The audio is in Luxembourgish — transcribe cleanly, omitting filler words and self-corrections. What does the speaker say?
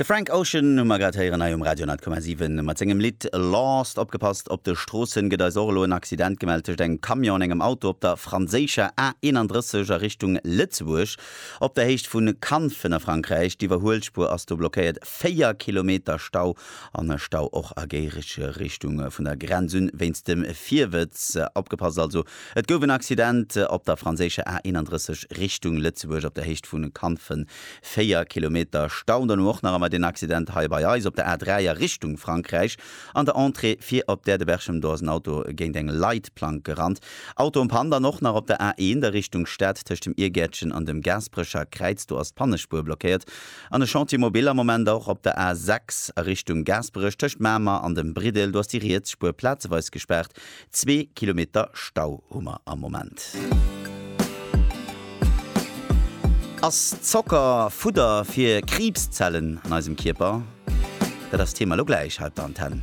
De Frank Ocean hu mer grad héieren hei um Radio 10,7 mat sengem Lidd Lost. Opgepasst, op de Stroossen gëtt eis och elo en Accident gemellt tëscht engem Camion an engem Auto op der franséischer A31 a Richtung Lëtzebuerg op der Héicht vu Kanfen a Frankräich. D'Iwwerhuelspuer ass do blockéiert, 4 Kilometer Stau an Stau och a Géigerichtung vun der Grenz un wéinst dem Virwëtz. Opgepasst also, et gouf en Accident op der franséischer A31 Richtung Lëtzebuerg op der Héicht vu Kanfen. 4 Kilometer Stau. Dann hu och nach ëmmer deen Accident hei bei eis op der A3 a Richtung Frankräich an der Entrée fir op d'Äerdeberchem. Do ass en Auto géint eng Leitplank gerannt. Auto en panne dann och nach op der A1 a Richtung Stad tëscht dem Iergäertchen an dem Gaasperecher Kräiz. Do ass d'Pannespuer blockéiert. An e Chantier mobile am Moment och op der A6 a Richtung Gaasperech tëscht Mamer an dem Briddel. Do ass déi riets Spuer plazeweis gespaart. Zwee Kilometer Stau hu mer am Moment. Ass Zocker Fudder fir Kriibszellen an eisem Kierper? Dat ass d'Thema elo gläich hei op der Antenn.